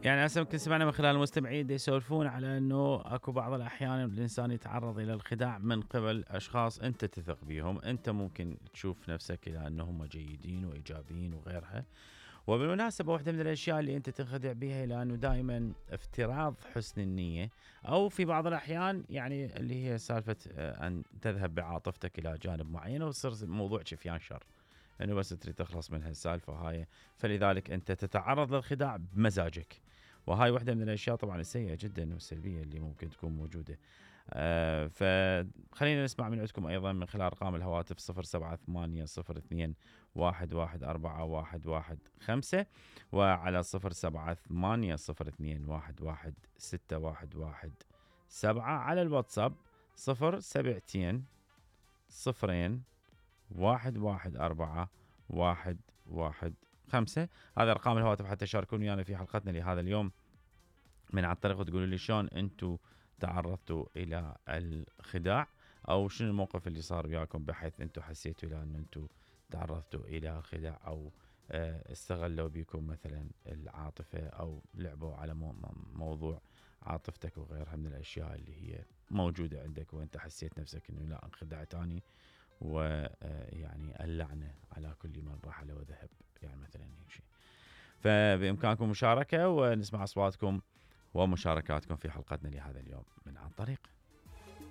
يعني هسه يمكن سمعنا من خلال المستمعين يسولفون على انه اكو بعض الاحيان الانسان يتعرض الى الخداع من قبل اشخاص انت تثق بيهم، انت ممكن تشوف نفسك الى انهم جيدين وايجابيين وغيرها. وبالمناسبة واحدة من الاشياء اللي انت تنخدع بها الى انه دائما افتراض حسن النية، او في بعض الاحيان يعني اللي هي سالفة ان تذهب بعاطفتك الى جانب معين ويصير الموضوع شفيان شر، انه بس تريد تخلص من هالسالفة هاي، فلذلك انت تتعرض للخداع بمزاجك. وهاي واحدة من الاشياء طبعا السيئة جدا والسلبية اللي ممكن تكون موجودة. فخلينا نسمع من عندكم ايضا من خلال ارقام الهواتف 07802211115 وعلى 07802116117 على الواتساب 072 0 114 هذا ارقام الهواتف حتى تشاركون ويانا في حلقتنا لهذا اليوم من عن طريق وتقولوا لي شلون انتم تعرضتوا الى الخداع، او شنو الموقف اللي صار وياكم بحيث انتم حسيتوا الى ان انتم تعرضتوا الى الخداع، او استغلوا بكم مثلا العاطفة او لعبوا على موضوع عاطفتك وغيرها من الاشياء اللي هي موجودة عندك وانت حسيت نفسك انه لا انخدعت اني، ويعني اللعنة على كل من رحل وذهب، يعني مثلا هيك شيء. فبإمكانكم مشاركة ونسمع أصواتكم ومشاركاتكم في حلقتنا لهذا اليوم من عن طريق